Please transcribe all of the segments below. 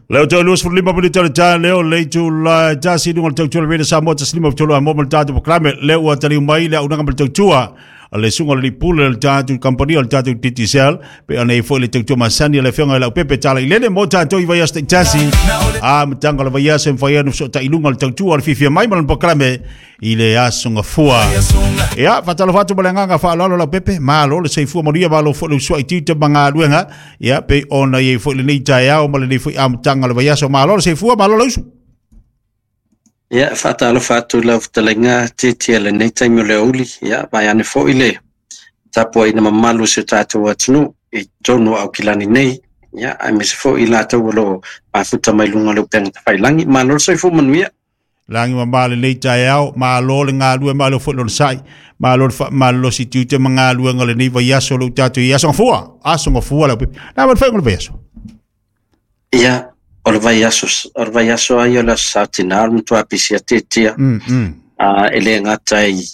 Leo tau 25 minute o le tae leo le itu la tasi i luga o le tautua le Radio Samoa 153 a mo ma le tatou programe leo ua taliu mai le auaunaga ma le tautua a le susuga o le Lipule o le tatou kamupani o le tatou Digicel pe ona i foi le tautua masani a le afioga i Laupepe Talailele mo tatou i vaiaso taitasi a matanga o le vaiaso e mafai ai ona fesootai i luga o le tautua o le fiafia mai ma lona programe i le aso gafua. Ia, faatalofa atu ma le agaga faaaloalo Laupepe, malo le soifua manuia, malo foi le usuai tiute ma galuega, ia, pei ona i ai foi lenei taeao ma lenei foi amataga o le vaiaso. Malo le soifua, malo le usu. Ia, faatalofa atu i lau fetalaiga Tietie i lenei taimi o le aoauli. Ia, vaeane foi le tapuaiga mamalu o si o tatou atunuu i totonu o Aukilani nei, ia, aemaise foi i latou o lo o mafuta mai luga o le upega tafailagi. Malo le soifua manuia. Lagi mama lenei taeao, malo le galue, malo foi le onosai, malo le faamalolosi tiute ma galuega o lenei vaiaso o lo o tatou i ai. Aso Gafua, Aso Gafua Laupepe. Na ma le faaiuga o le vaiaso. Ia, o le vaiaso, o le vaiaso lava ia o le Aso Sa Tina, o le matua pisi atiatia. E le gata i,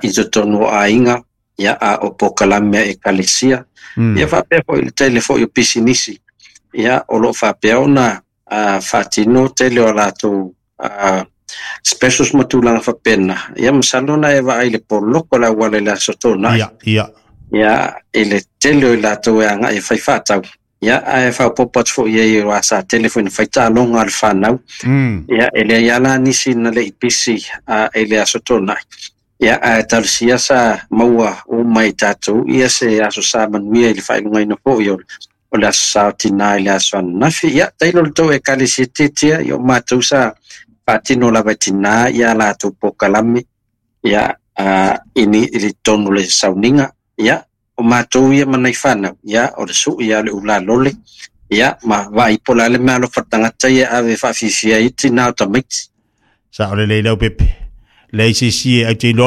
i totonu o aiga, ia, a o polokalame a ekalesia. Ia faapea foi i le tele foi o pisinisi, ia, o lo o faapea ona faatino tele o latou specials ma tulaga faapena. Ia masalo na e vaai i le poloko o le auala i le Aso Toonai. Ia, ia. Ia, i le tele o i latou e agai e fai faatau. Ia, ae faaopoopo atu foi i ai, aua sa tele foi ina fai taaloga a le fanau. Ia, e leai lava la nisi na le i pisi i le Aso Toonai. Ia, ae talosia sa maua uma e tatou ia se aso sa manuia i le faailogaina foi o o le Aso Sa o Tina i le aso ananafi. Ia, tailo le tou ekalesia tiatia, ia o matou sa faatino lava e tina ia latou polokalame, ia, i ni, i le totonu o le sauniga. Ia, o matou ia ma nai fanau, ia, o le sui ia o le ulalole, ia, ma vaai po o le a le meaalofa a le tagata ia e ave e faafiafia ai tina o tamaiti. Sao lelei Laupepe. Leai se isi e, au te iloa.